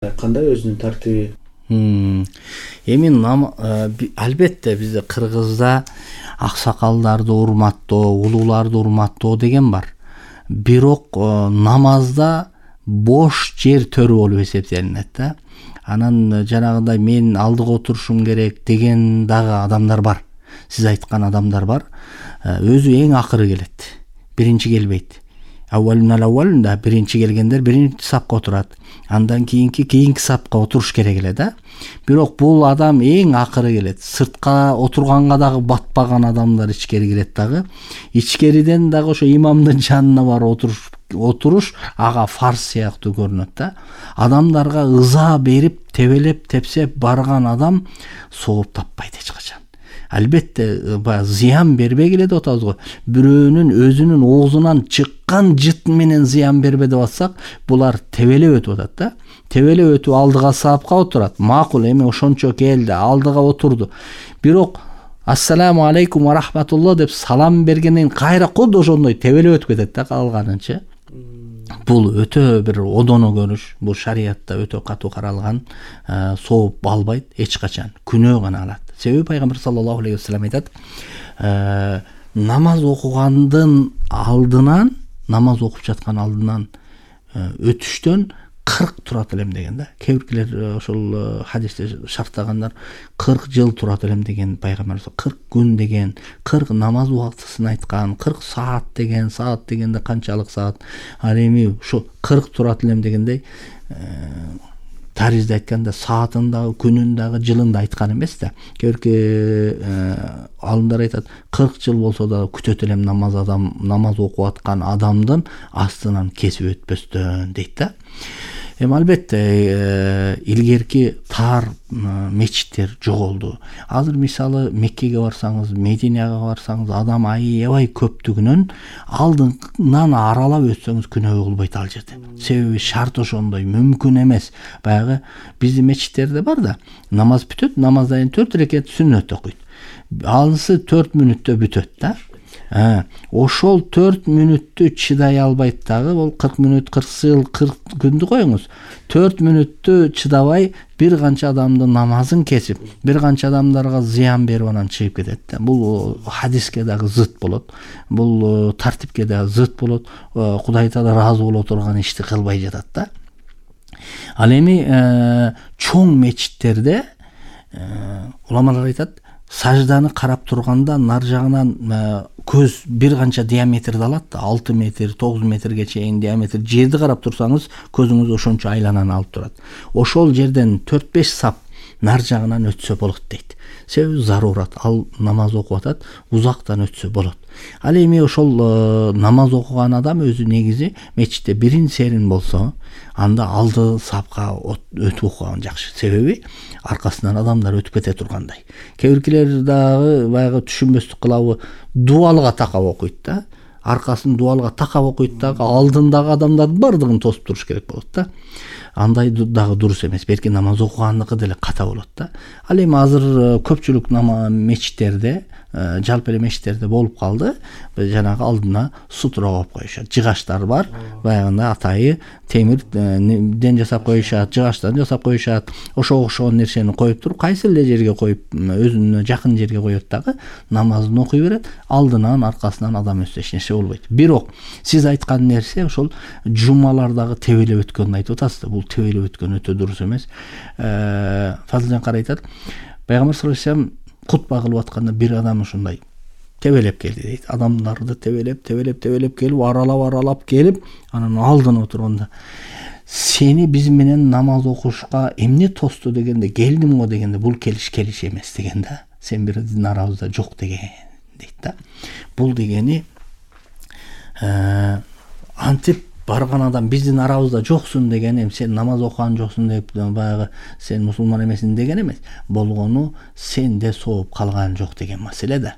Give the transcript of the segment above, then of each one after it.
Кандай өзүнүн тартиби? Эми албетте бизде Кыргызда аксакалдарды урматтоо, улууларды урматтоо деген бар. Бирок намазда бош жер төрү болуп эсептелинет да. Анан жанагындай мен алдыга отурушум керек деген дагы адамдар бар. Сиз айткан адамдар бар. Өзү эң акыры келет. Биринчи келбейт. Аввалунда биринчи келгендер биринчи сапка отурат. Андан кийинки сапка отуруш керек эле да. Бирок бул адам эң акыры келет. Сыртка отурганга дагы батпаган адамдар ичкери кирет дагы. Ичкериден дагы ошо имамдын жанына барып отуруш ага фарз сыяктуу көрүнөт да. Адамдарга ыза берип, тебелеп, тепсеп барган адам сооп таппайт эч качан. Албетте зыян бербей келе деп атабыз го. Бирөөнүн өзүнүн оозунан чыккан жыт менен зыян бербе деп атсак, булар тебелеп өтүп атат да. Тебелеп өтүп алдыга сапка отурат. Макул, эми ошончо келди, алдыга отурду. Бирок ассаламу алейкум ва рахматуллах деп салам бергенден кайра кудду ошондой тебелеп өтүп кетет да калганынчы. Бул өтө бир одоно көрүш. Бул шариятта өтө катуу каралган, сооп албайт эч качан. Күнөө гана алат. Себеби пайгамбар саллаллаху алейхи вассалам айтат, намаз окугандын алдынан, намаз окуп жаткан алдынан өтүштөн 40 турат элем деген да. Кээ-биркилер ошол хадисте шарттагандар 40 жыл турат элем деген пайгамбар, 40 күн деген, 40 намаз убактысын айткан, 40 саат деген, саат дегенде канчалык саат. Ал эми ушу 40 турат элем дегендей таризде айтканда саатын дагы, күнүн дагы, жылын да айткан эмес да. Кээ-бирки алымдар айтат, 40 жыл болсо да күтөт элем намаз окуп аткан адамдын астынан кесип өтпөстөн дейт да. Эми албетте илгерки тар мечиттер жоголду. Азыр мисалы Меккеге барсаңыз, Мединага барсаңыз, адам аябай көптүгүнөн алдынан аралап өтсөңүз күнөө кылбайт ал жерде. Себеби шарт ошондой, мүмкүн эмес. Баягы биздин мечиттерде бар да, намаз бүтөт, намаздан 4 рекет сүннөт окуйт. Анысы 4 мүнөттө бүтөт да. Ошол 4 мүнөттү чыдай албайт дагы, бул 40 мүнөт, 40 жыл, 40 күндү коюңуз. 4 мүнөттү чыдабай бир канча адамдын намазын кесип, бир канча адамдарга зыян берип анан чыгып кетет да. Бул хадиске дагы зыт болот. Бул тартипке дагы зыт болот. Кудай Таала ыраазы боло турган ишти кылбай жатат да. Ал эми чоң мечиттерде уламалар айтат, сажданы карап турганда нар жагынан көз бир канча диаметрди алат да, 6 метр, 9 метрге чейин диаметр. Жерди карап турсаңыз, көзүңүз ошончо айлананы алып турат. Ошол жерден 4-5 сап нар жагынан өтсө болот дейт. Себеби зарурат, ал намаз окуп атат, узактан өтсө болот. Ал эми ошол намаз окуган адам өзү негизи мечитте бирин серин болсо, анда алды сапка өтүп окуган жакшы. Себеби аркасынан адамдар өтүп кете тургандай. Кээ-биркилер дагы баягы түшүнбөстүк кылабы, дубалга такап окуйт да. Аркасын дубалга такап окуйт дагы, алдындагы адамдардын бардыгын тосуп туруш керек болот да. Андай дагы дурус эмес. Белки намаз окугандыкы деле ката болот да. Ал эми азыр көпчүлүк мечиттерде, жалпы эле мечиттерде болуп калды. Жанагы алдына сутура коюп коюшат. Жыгаштар бар. Баягында атайы темирден жасап коюшат, жыгаштан жасап коюшат. Ошого окшогон нерсени коюп туруп, кайсы эле жерге коюп, өзүнө жакын жерге коет дагы, намазын окуй берет. Алдынан, аркасынан адам өтсө эч нерсе болбойт. Бирок сиз айткан нерсе ошол жумалардагы тебелеп өткөндү айтып атасыз да. Бул тебелеп өткөн өтө дурус эмес. Фазылжан кара айтат, пайгамбар саллаллаху алейхи вассалам кутба кылып атканда бир адам ушундай тебелеп келди дейт. Адамдарды тебелеп келип, аралап келип, анан алдына отурганда, сени биз менен намаз окушка эмне тосту дегенде, келдим го дегенде, бул келиш эмес деген да. Сен биздин арабызда жок деген дейт да. Бул дегени антип барган адам биздин арабызда жоксун деген, эми сен намаз окуган жоксун деп баягы сен мусулман эмесиң деген эмес. Болгону сенде сооп калган жок деген маселе да.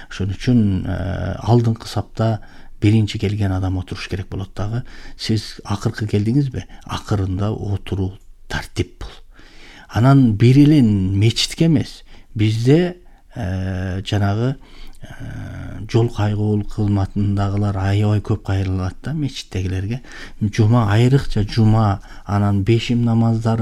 Ошон үчүн алдыңкы сапта биринчи келген адам отуруш керек болот дагы. Сиз акыркы келдиңизби? Акырында отуруу тартип бул. Анан бир эле мечитке эмес, бизде жанагы жол кайгоолук кызматындагылар аябай көп кайрылат да мечиттегилерге. Жума айрыкча жума анан бешим намаздарын